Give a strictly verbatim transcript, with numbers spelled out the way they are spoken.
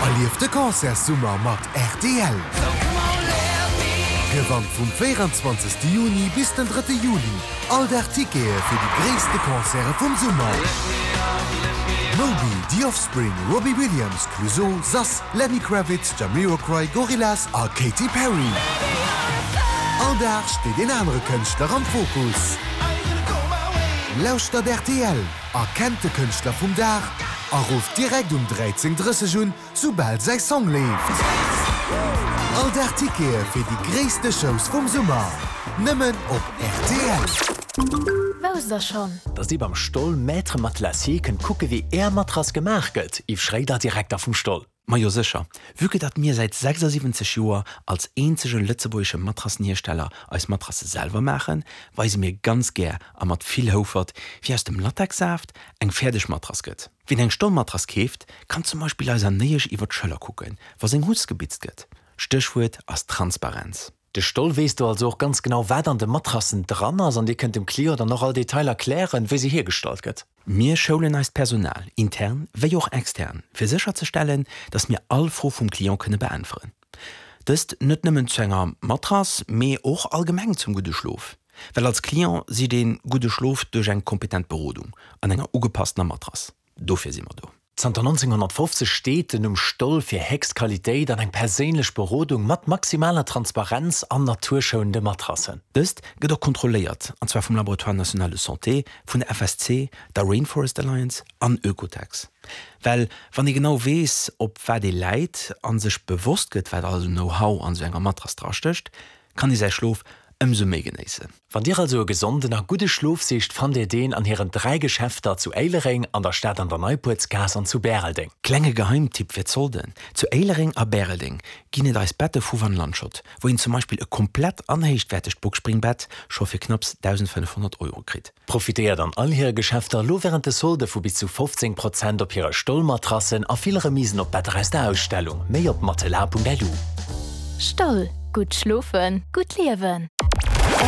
Erlieft de Concertssummer mat rtl! Gewannt vum véierenzwanzegste Juni bis den drëtte Juli all Dag Tickete fir déi gréisste Concerte vum Summer! Moby, The Offspring, Robbie Williams, Clouseau, Sass, Lenny Kravitz, Jamiroquai, Gorillaz a Katy Perry. All Dag steet een anere Kënschtler am Fokus. Lauschtert rtl, erkennt de Kënschtler vum Dag a rufft direkt um dräizéng drësseg un, soubal säi Song leeft. All Dag Tickete fir déi gréisste Shows vum Summer, nëmmen op rtl. Wousst der schonn? Dass dir beim Stoll Maître Matelassier kënnt kucke wéi är Matrass gemaach gëtt? Yves Schréider, Direkter vum Stoll. Majo sécher, vue que datt mir säit sechsasiwwenzeg Joer als eenzege lëtzebuergesche Matrassenhiersteller eis Matrasse selwer maachen, weise mir ganz gär a mat vill Houfert, wéi aus dem Latexsaaft eng fäerdeg Matrass gëtt. Wien eng Stollmatrass keeft, kann zum Beispill eiser Néiesch iwwer d'Schëller kucken, wa seng Huss gebitzt gëtt. Stéchwuert ass Transparenz. De Stoll weess do also och ganz genau, wat an de Matrassen dran ass an dir kënnt dem Client dann och all Detail erklären, wéi se hiergestallt gëtt. Mir schoulen eist Personal, intern wéi och extern, fir sécherzestellen, dass mir all Fro vum Client kënne beäntweren. Dëst net nëmmen zu enger Matrass, mee och allgemeng zum gudde Schlof. Well als Client sicht ee gudde Schlof duerch eng kompetent Berodung an enger ugepasstener Matrass. Dofir si mer do. Zanter nonzénghonnertfofzeg steet den Numm Stoll fir héchst Qualitéit an eng perséinlech Berodung mat maximaler Transparenz an naturschounende Matrassen. Dëst gëtt och kontrolléiert, an zwar vum Laboratoire national de santé, vun der F S C, der Rainforest Alliance an Oekotex. Well wann ee genau weess, op wat ee läit a sech bewosst gëtt, wat alles un Know-how an esou enger Matrass drastécht, kann ee säi Schlof ëmsou méi genéissen. Wann Dir also e gesonden a gudde Schlof sicht, fannt Dir deen an hiren dräi Geschäfter zu Éilereng, an der Stad an der Neipuertsgaass an zu Bäreldeng. Klenge Geheimtipp fir d'Solden, Zu Éilereng a Bäreldeng ginn et eis Bette vu Van Lanschot, wou een zum Beispill e komplett an héichwäertegt Boxspringbett scho fir knapps dausendfënnefhonnert Euro kritt. Profitéiert an all hire Geschäfter elo wärend de Solde vu bis zu fofzéng Prozent op hire Stollmatrassen a vill Remisen op Better aus der Ausstellung. Méi op matelas Punkt lu. Stoll, gutt schlofen, gutt liewen!